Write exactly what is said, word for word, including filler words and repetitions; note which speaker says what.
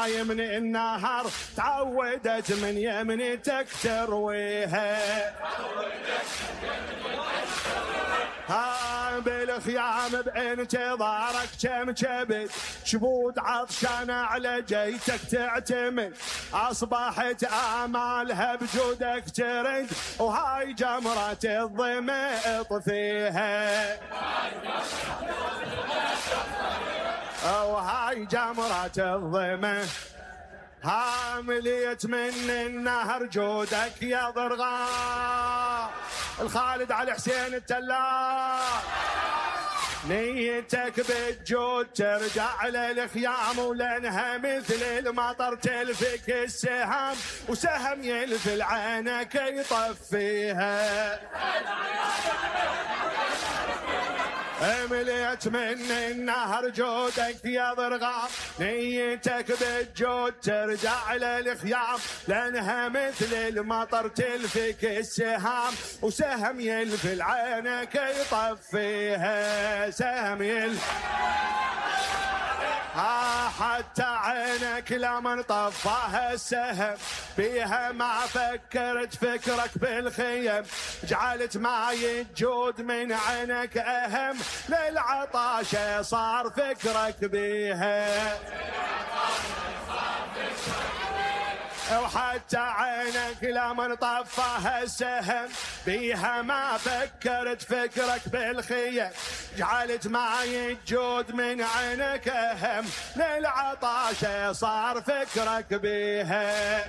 Speaker 1: هاي من النهر تعودت من يمنتك ترويها. ها بالخيام بانتظارك كم كبد شبود عطشانة على جيتك تعتمد. أصبحت آمالها بجودك ترد وهاي جمرة الظما اطفيها. وهاي جمرة الظما ها مليت من النهر جودك يا ضرغام. الخالد علي حسين التلاح نيتك بالجود ترجع للخيام ولانها مثل المطر تلفك السهام وسهم يلفل عينك يطفيها. مليت من النهر جودك يا ضرغام نيتك بالجود ترجع للخيام لانها مثل المطر تلفك السهام وسهم يلفل عينك يطفيها. سهم يلفل ها حتى عينك لمن طفاها السهم بيها ما فكرت فكرك بالخيم. جعلت معي الجود من عينك أهم للعطاشة صار فكرك بيها. وحتى عينك لمن طفاها السهم بيها ما فكرت فكرك بالخيم. جعلت معي الجود من عينك أهم للعطاشة صار فكرك بيها.